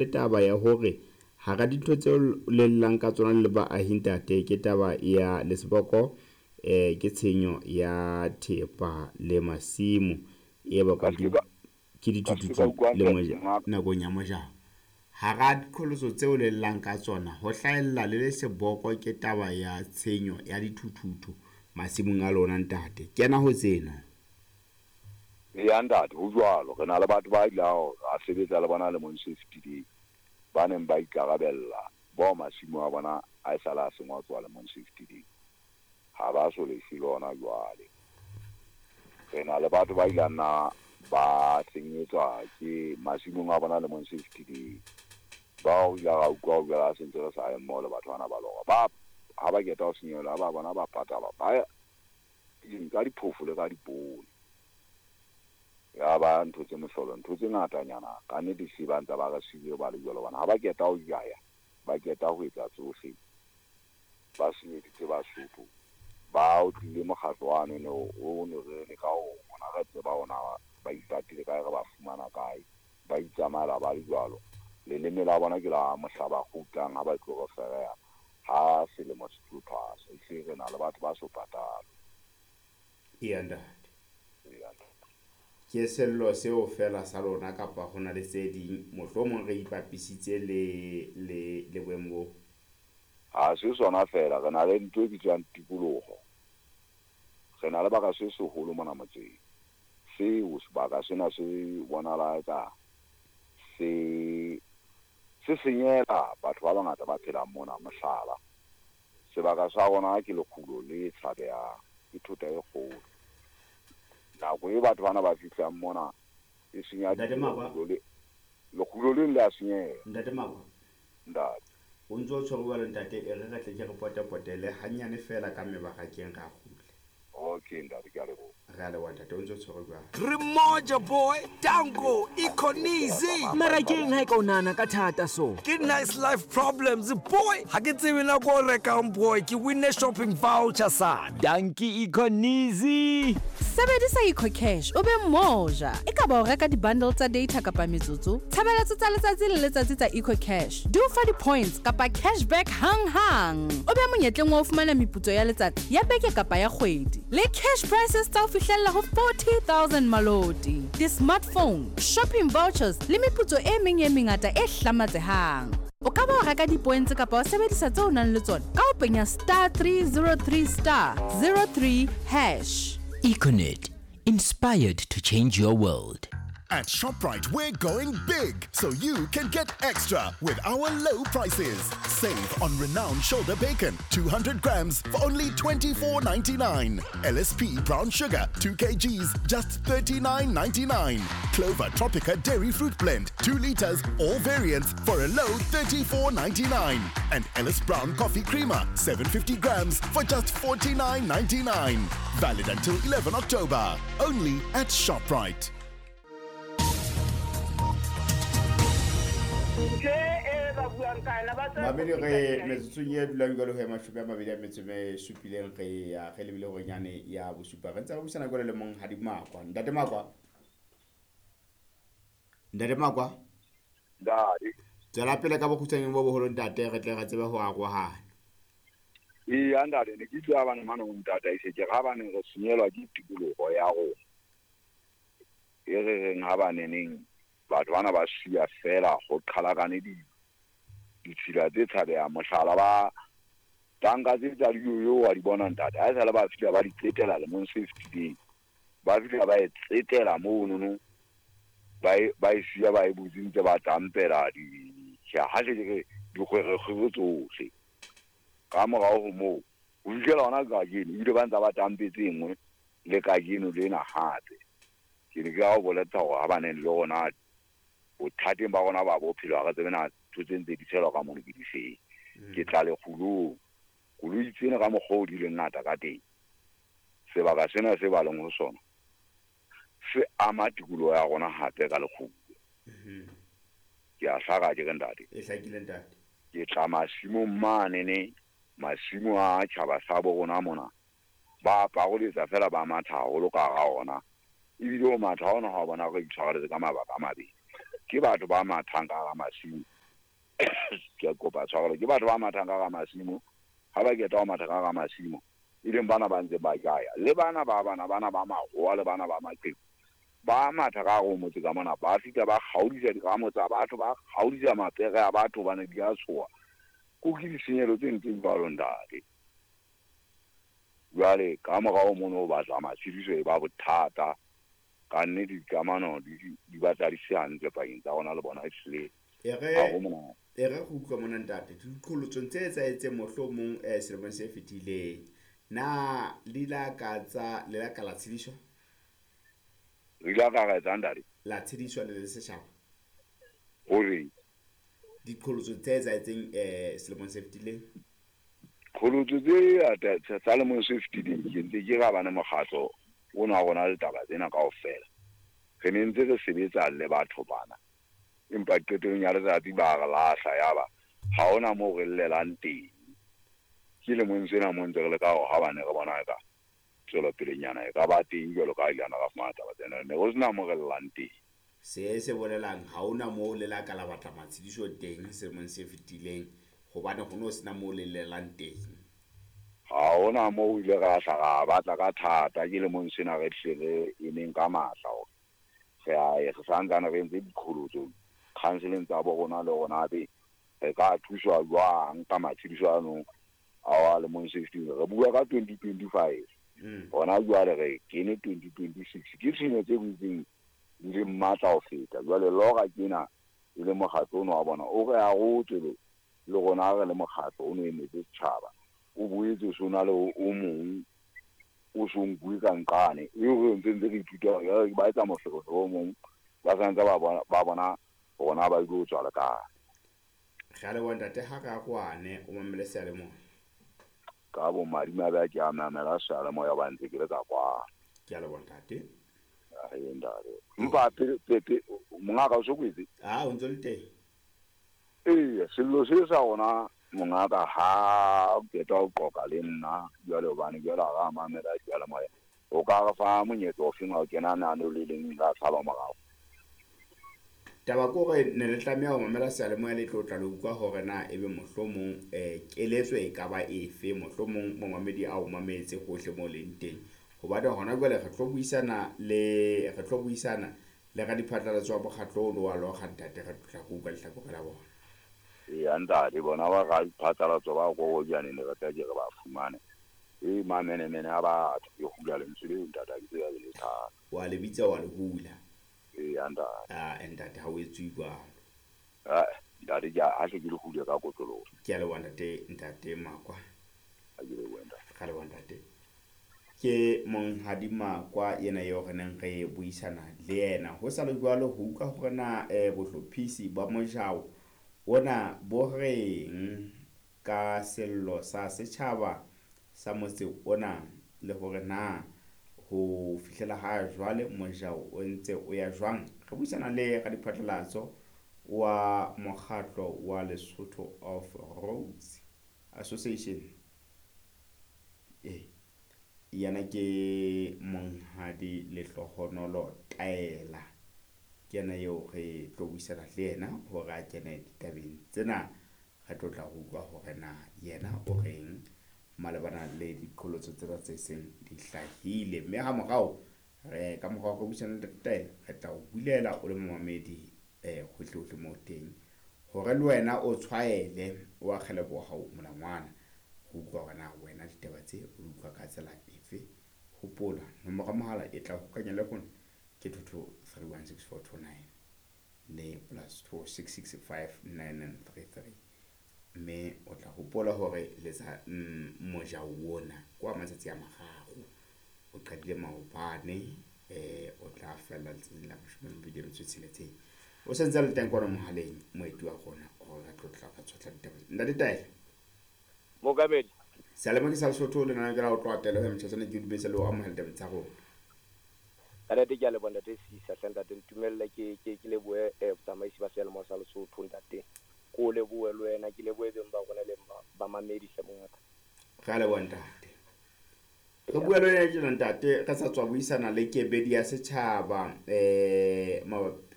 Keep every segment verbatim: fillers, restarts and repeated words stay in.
Le taba ya hore hara dintho tseo le llang ka tsona le baahi ntate, ke taba ya le seboko eh ke tshenyo ya thepa le masimo e Ka bakwang se ke ka ke ka se ka dithuthuthu utlwa le hantle moja monga. Nakong ya mojao. Hara diqholotso tseo le llang ka tsona ho hlahella le le seboko ke taba ya tshenyo ya dithuthuthu masimong a lona ntate. Kena ho tsena. Eya ntate, ho jwalo. Re na le batho ba ilang ra sebetsa le bona lemong se fetileng, ba neng ba ikarabella bao masimo a bona a e sale a sengwa tloha lemong se fetileng. Ha ba so lefe le hona jwale. Re na le batho ba ilang na ba senyetswa ke masimong a bona lemong se fetileng. Bao re ile ra utlwa ho jwale ha se ntse re sa ye mmoho le batho bana ba lora. Ba ha ba qeta ho senyehelwa ba bona ba patalwa ba ka diphofo le ka dipoone. Ya ba ntho tse mohlolo, ntho tse ngatanyana ka nnete se ba ntse ba re siile ba le jwalo hobane ha ba qeta ho jaya, ba qeta ho etsa tsohle, ba senyeditse Basotho. Ba o tlile mokgatlo wane no o ne re leka ho rona re tseba ona ba ipatile kae, re ba fumana kae, ba itsamaela ba le jwalo. Leleme la bona ke la mohla ba kgutlang ha ba tlo re fereha ha selemo se tlo thwasa. Ehlile re na le batho ba so patalwe. Eya ntate. Eya ntate. Ke sello seo feela sa lona kapa ho na le tse ding mohlomong re ipapisitse le le le boemo bo? Ha se sona feela, re na le ntho e bitswang tikoloho. Re na le baka se seholo mona motseng. Seo sebaka sena se bonahala eka se se senyela batho ba bangata ba phelang mona. Mohlala, sebaka sa rona ke lekgulo le tshabehang, ke thota e kgolo. Nako e batho bana ba fihlang mona e senya Ntate Makwa. lekgulo le lekgulo leng le a senyeha. Ntate Makwa. Ntate. O ntso tshwere jwalo ntate, e re re tle ke re potepotele hanyane feela ka mebarakeng ra kgutla. Okay ntate, ke a leboha. Re a leboha ntate, o ntso tshwere jwalo. Re moja boy, Danko, Ikhonizi. Mara keng ha e ka o nahana ka thata so? Ke nice life problems boy. Ha ke tsebe nako o rekang boy, ke winne shopping voucher sana. Danki Ikhonizi. Sebedisa EcoCash o be moja. E ka ba o reka di-bundle tsa data kapa metsotso, tshebeletso tsa letsatsi le letsatsi tsa EcoCash di o fa di-points kapa cashback hang-hang. O be monyetleng wa ho fumana meputso ya letsatsi, ya beke kapa ya kgwedi. Le cash prizes tsa ho fihlella ho forty thousand maloti, di-smartphone, shopping vouchers le meputso e meng e mengata e hlamatsehang. O ka ba wa reka di-points kapa wa sebedisa tseo o nang le tsona ka ho penya star three zero three star zero three hash. Econet, inspired to change your world. At ShopRite, we're going big, so you can get extra with our low prices. Save on renowned shoulder bacon, two hundred grams for only twenty-four ninety-nine. L S P brown sugar, two kilograms, just thirty-nine ninety-nine. Clover Tropica Dairy Fruit Blend, two liters, all variants for a low thirty-four ninety-nine. And Ellis Brown Coffee Creamer, seven fifty grams for just forty-nine ninety-nine. Valid until eleven October, only at ShopRite. Mamedi re metsotsong e dulang jwalo ho ya mashome a mabedi a metso e supileng re ya re lebile hore nyane ya bosupa. Re ntse re buisana jwalo le Monghadi Makwa. Ntate Makwa. Ntate Makwa. Ntate. Tswela pele ka bokgutshwane bo boholo ntate, re tle re tsebe ho arohana. Eya ntate, ne ke tla bana mane ho ntataise ke ra bane re senyelwa ke tikoloho ya rona. E re reng ha ba neneng batho bana ba siya fela ho qhalakane di ditshila tse tshabehang. Mohlala ba tanka tse tsa diyoyo wa di bona ntate, ha esale ba fihla ba di tsetela lemong se fetileng, ba fihla ba e tsetela monono, ba e, ba e siya ba e butse ntse ba tampela di ha se ke dikgwerekgwere tsohle. Ka morao ho moo ho fihlela hona kajeno ebile ba ntse ba tampetse e nngwe le kajeno lena hape. Ke ne ke a o boletsa hore ha ba neng le rona bothateng ba rona ba bophelo ha re tsebe na ntho tse ntse di tshelwa ka mono ke di feng. Ke tla lekgulong, koloi tsena ka mokgwa o di leng ngata ka teng, sebaka sena se ba leng ho sona se ama tikoloho ya rona hape ka lekgulo. Ke a hlaka ke re ntate. E hlakile ntate. Ke tla masimong mane ne, masimo a tjhaba sa bo rona mona, ba paroletsa fela ba matha haholo ka hara ona. Ebile ho matha hona ha bona re itshwareletse ka mabaka a mabedi. Ke batho ba mathang ka hara masimo. Ke kopa tshwarelo, ke batho ba mathang ka hara masimo. Ha ba qeta ho matha ka hara masimo, e leng bana ba ntse ba jaya. Le bana ba bana bana ba mahoa le bana ba maqheku. Ba matha ka hare ho motse ka mona, ba fihla ba kgaodisa dikramo tsa batho, ba kgaodisa mapere a batho hobane di a tshoha. Ko ke ditshenyehelo tse ntseng jwalo ntate. Jwale ka morao mono ho batla matshediso e ba bothata. Ka nnete dikamano di di batla di se hantle pakeng tsa rona le bona ehlile. E re Ha ho monate. E re go utlwa mona ntate, diqholotsong tse etsahetseng mohlomong eh selemong se fetileng, na le la ka tsa le la ka la tshediswa? Re ile ka ra etsang ntate? La tshediswa le le setjhaba. Hore diqholotso tse etsahetseng eh selemong se fetileng? Qholotso tse tsa selemong se fetileng ke ntse ke ra bana mokgatlo ona wa rona le taba tsena kaofela. Re ne ntse re sebetsa le batho bana, empa qetellong ya letsatsi ba re lahla, yaba ha hona moo re llelang teng. Ke lemong sena mo ntse re leka hore ha bane re bona eka tswelopelenyana e ka ba teng jwalo ka ha ile ra fumana taba tsena, ne ho sena moo re llang teng. Se se bolelang ha hona moo le la ka la batla matshediso teng selemong se fetileng, hobane ho no sena moo le llelang teng. Ha hona moo ile ra hla ra batla ka thata. Ke lemong sena re hle re emeng ka matla hore re a re santsane re entse diqholotso counseling tsa bo rona le rona be re ka thuswa jwang ka matshediso ano a wa lemong se fetileng. Re bua ka twenty twenty-five, hona jwale re kene twenty twenty-six. Ke tshenyo tse butseng di le matla ho feta. Jwale lora kena e le mokgatlo ono wa bona o re arotse le rona re le mokgatlo ono emetse setjhaba, o boetse o na le o mong o so nkuwe ka nqane eo re ntse ntse re ithuta hore ba etsa moferefere o mong, ba santse ba bona ba bona rona ba ile ho tswa le kae. Re a leboha ntate, ha re kwane o mamele seyalemoya. Ka bo madimabe a ke a mamela seyalemoya ba ntse ke le ka kwana. Ke a leboha ntate. Ae ntate. Empa pele pele mongaka o so kwetse? Ah, o ntse le teng. Ee, sello se sa rona mongaka ha o qeta ho qoqa le nna jwale hobane jwale ha ra mamela seyalemoya, o ka re fa monyetla ofeng wa ho kena nano le leng la sala morao? Taba ke hore ne le tlameha ho mamela seyalemoya le tlo tla le utlwa hore na ebe mohlomong eh keletso e ka ba efe, mohlomong momamedi a o mametse hohle moo leng teng. Hobane hona jwale re tlo buisana le re tlo buisana le radiphatlalatso wa mokgatlo ono wa Lora ntate, re tla go utlwa lehlakore la bona. Eya ntate, bona ba radiphatlalatso ba Kokojaneng ne re tla ke re ba fumane. E mamenemene a batho ke hula lentswe leo ntate, ha ke tsebe le thata. Wa le bitsa wa le hula. Eya ntate. Ah, ntate ha o etswe jwalo. Ah, ntate ke a hle ke le hule ka kotloloho. Ke a leboha ntate, ntate Makwa. Ha ke lebohe ntate. Ka leboha ntate. Ke Monghadi Makwa yena eo re neng re buisana le yena. Ho sa le jwalo ho utlwa hore na eh bohlophisi ba mojao ona bo reng ka sello sa setjhaba sa motse ona, le hore na ho fihlela ha jwale mojao o ntse o ya jwang. Re buisana le radiphatlalatso wa mokgatlo wa Lesotho of Roads Association. Eh yena ke Monghadi Lehlohonolo Taela, ke yena eo re tlo buisana le yena hore a kene ditabeng tsena. Re tlo tla ho utlwa hore na yena o reng malebana le diqholotso tsena tse seng di hlahile. Mme ha morao re ka morao re buisana le Taela, re tla o bulela o le momamedi eh hohle hohle moo teng hore le wena o tshwaele o akgele bohao molangwana ho utlwa hore na wena ditaba tse o di utlwa ka tsela efe. Hopola nomoro ya mohala e tla hokanya le rona ke two two three one six four two nine le plus two six six five nine nine three three. Mme o tla hopola hore letsa mojao ona kwa matsatsi a mararo, o qadile maobane eh o tla fella letsatsing la mashome a mabedi a metso e tsheletseng. O sentse a le teng kwana mohaleng moeti wa rona hore re tlo tla ka tshotla ditaba. Ntate Taela. Mokamedi. Seyalemoya ke sa Lesotho le nna ke la o tloha telo ya motjhatsana ke dumedisa le ho amohela ditaba tsa rona. Ka ntate ke a leboha ntate Sisa hle ntate, ntumelle ke ke ke lebohe eh botsamaisi ba seyalemoya sa Lesotho ntate. Ko lebohe le wena, ke lebohe beng ba rona le ba mamedi hle mongaka. Re a leboha ntate. Re bua le wena tjena ntate, re sa tswa buisana le kebedi ya setjhaba eh mabapi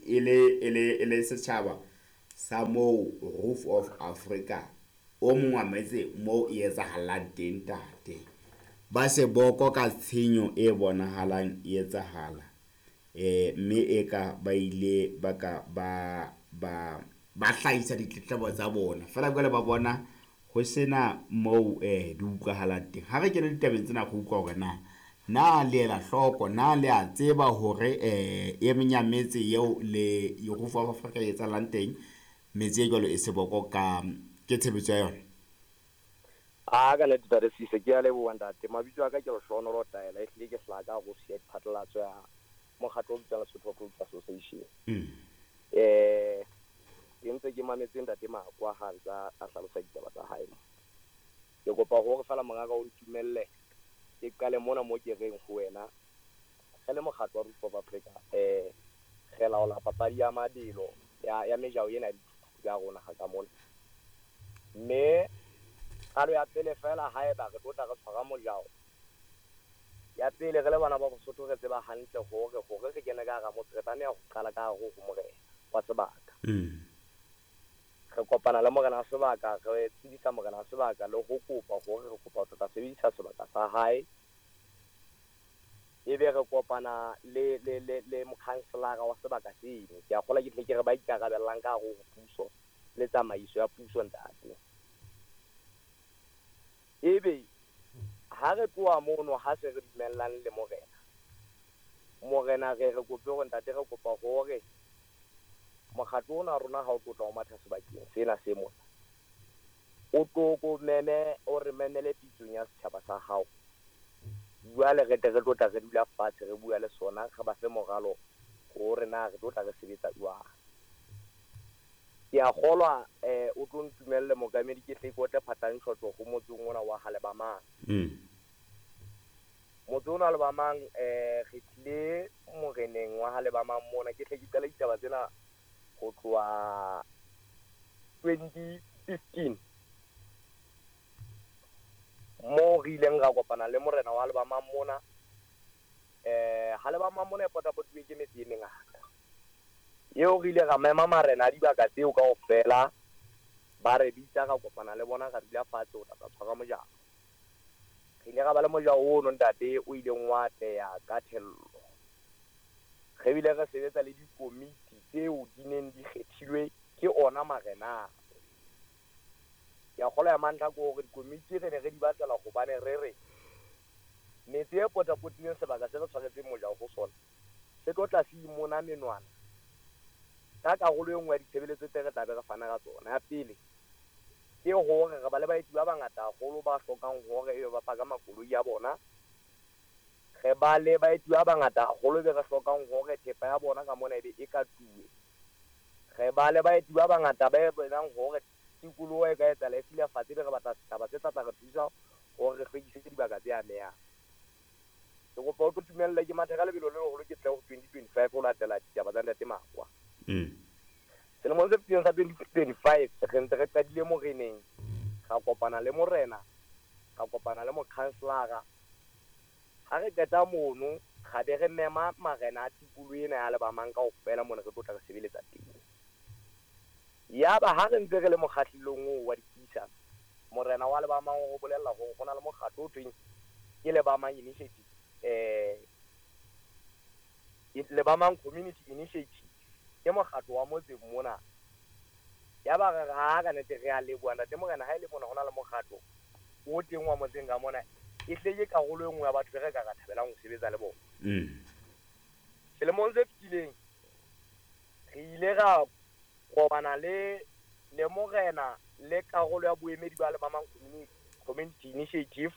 e le e le e le setjhaba sa moo Roof of Africa o mong wa metse moo e etsahalang teng ntate. Ba seboko ka tshenyo e bonahalang e etsahala. Eh mme eka ba ile ba ka ba ba ba hlahisa ditletlebo tsa bona. Feela jwale ba bona ho sena moo eh di utlwahalang teng. Ha re kene ditabeng tsena go utlwa hore na na le ela hloko, na le a tseba hore eh e meng ya metse eo le Roof of Africa e etsahalang teng, metse e jwalo e seboko ka ke tshebetso ya yona. A ka nnete ntate Sise, ke a leboha ntate. Mabitso a ka ke Lehlohonolo Taela, ehlile ke hlaha ka hare ho siya diphatlalatso ya mokgatlo o bitswang Lesotho Roads Association. Mm. Eh ke ntse ke mametse ntate Makwa ha ntsa a hlalosa ditaba tsa hae. Ke kopa hore feela mongaka o ntumelle ke qale mona mo ke reng ho wena. Re le mokgatlo wa Roof of Africa, eh re laola papadi ya mabelo ya ya mejao ena ya dithuthuthu ya rona ha ka mona. Mme qalo ya pele feela haeba re tlo tla re tshwara mojao, ya pele re le bana ba Bosotho re tseba hantle hore hore re kene ka hara motse re tlameha ho qala ka hare ho morena wa sebaka. Mm. Re kopana le morena wa sebaka, re tsebisa morena wa sebaka le ho kopa hore re kopa ho tla sebedisa sebaka sa hae. Ebe re kopana le le le le mokhanselara wa sebaka seno. Ke a kgolwa ke tle ke re ba ikarabellang ka hare ho puso le tsamaiso ya puso ntate. Ebe ha re tloha mono ha se re dumellang le morena, morena re re kope hore ntate re kopa hore mokgatlo ona wa rona ha o tlo tla o matha sebakeng sena se mona, o tlo ko meme, o re memele pitsong ya setjhaba sa hao. Jwale re tle re tlo tla re dula fatshe re bua le sona, re ba fe moralo hore na re tlo tla re sebetsa jwang. Ke a kgolwa eh o tlo ntumelle mookamedi ke tle ke otle phatantshotso ho motseng ona wa Halebamang. Mm. Motse ona wa Halebamang eh re tlile moreneng wa Halebamang mona, ke tle ke qale ditaba tsena ho tloha twenty fifteen mo re ileng ra kopana le morena wa Halebamang mona. Eh Halebamang mona e potapotilwe ke metse e mengata. Eo re ile ra mema marena a dibaka tseo kaofela, ba re bitsa ra kopana le bona, ra dula fatshe ho tla tshwara mojao. Re ile ra ba le mojao ono ntate o ileng wa atleha ka thello. Re bile re sebetsa le dikomiti tseo di neng di kgethilwe ke ona marena. Ke a kgolwa ya mantlha ke hore dikomiti re ne re di batlela hobane re re metse e potapotileng sebaka se re tshwaretseng mojao ho sona se tlo tla se imona menwana ka karolo e nngwe ya ditshebeletso tse re tla be re fana ka tsona. Ya pele ke hore re ba le baeti ba bangata haholo ba hlokang hore ebe ba paka makoloi a bona. Re ba le baeti ba bangata haholo be re hlokang hore thepa ya bona ka mona ebe e katuwe. Re ba le baeti ba bangata ba bonang hore tikoloho e ka etsahala e silafatse, be re batla setjhaba se tla tla re thusa hore re hlwekise dibaka tse amehang. Ke kopa o tlo tumelle ke mathe ka lebelo le leholo ke tle ho twenty twenty-five ho latela ditaba tsa ntate Makwa. Mm. Selemong se fetileng sa twenty twenty-five re ntse re qadile moreneng, ra kopana le morena, ra kopana le mokhanselara. Ha re qeta mono ra be re mema marena a tikoloho ena ya Halebamang kaofela mona re tlo tla re sebeletsa teng. Yaba ha re ntse re le mokgahlelong oo wa dipuisano, morena wa Halebamang o bolella hore ho na le mokgatlo o thweng ke Lebamang Initiative, eh Lebamang Community Initiative, ke mokgatlo wa motse mona. Yaba re ha ka nete re a leboha ntate morena, ha e le mona ho na le mokgatlo o teng wa motseng ka mona, e hle ke karolo e nngwe ya batho be re ka ra thabelang ho sebetsa le bona. Mm. Selemong se fetileng re ile ra kopana le le morena le karolo ya boemedi ba Lebamang Community, Community Initiative.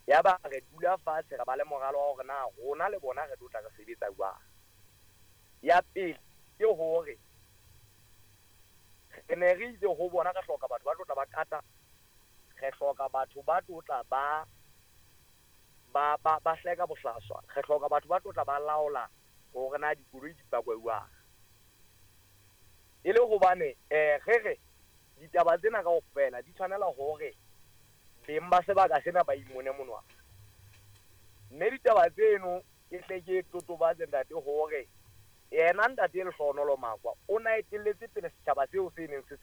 Yaba re dula fatshe ra ba le moralo wa hore na rona le bona re tlo tla re sebetsa jwang. Ya pele ke hore re ne re itse ho bona re hloka batho ba tlo tla ba kata, re hloka batho ba tlo tla ba ba ba ba hleka bohlaswa, re hloka batho ba tlo tla ba laola hore na dikoloi di pakwe jwang. E le hobane eh re re ditaba tsena kaofela di tshwanela hore beng ba sebaka sena ba imone monwana. Mme ditaba tseno ke hle ke totobatse ntate hore Yena ntate Lehlohonolo Makwa o na etelletse pele setjhaba seo se neng se